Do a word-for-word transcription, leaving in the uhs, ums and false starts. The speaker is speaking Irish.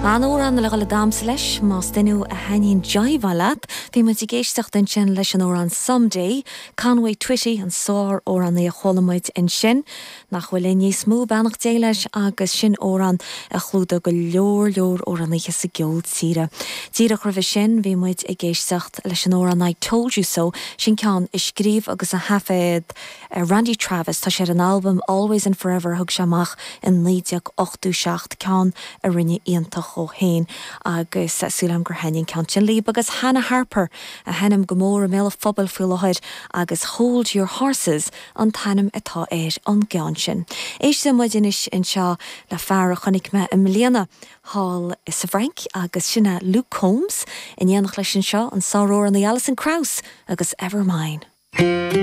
An amhrán le dhul ag damhsa leis más duine a thaitníonn jiveáil leat, bhí muid ag éisteacht ansin leis an amhrán Someday, Conway Twitty an sár-amhránaí a chuala muid ansin, nach bhfuil linn níos mó beannacht Dé leis agus sin amhrán a chlúdaigh go leor leor amhránaithe sa gceol tíre. Díreach roimhe sin bhí muid ag éisteacht leis an amhrán I Told You So sin ceann a scríobh agus a thaifead uh, Randy Travis tá sé ar an albam Always and Forever thug sé amach in naoi déag ochtó seacht ceann a rinne iontach ó féin agus súil gur thaitin ceann sin libh agus Hannah Harper a sheinneann go mór i mbéal an phobail faoi láthair agus Hold Your Horses an t-ainm atá ar an gceann sin. Éistfidh muid anois anseo le fear a chonaic mé i mbliana thall sa Fhrainc agus sin é Luke Combs in éineacht leis anseo an sár-amhránaí Alison Krauss agus Ever Mine.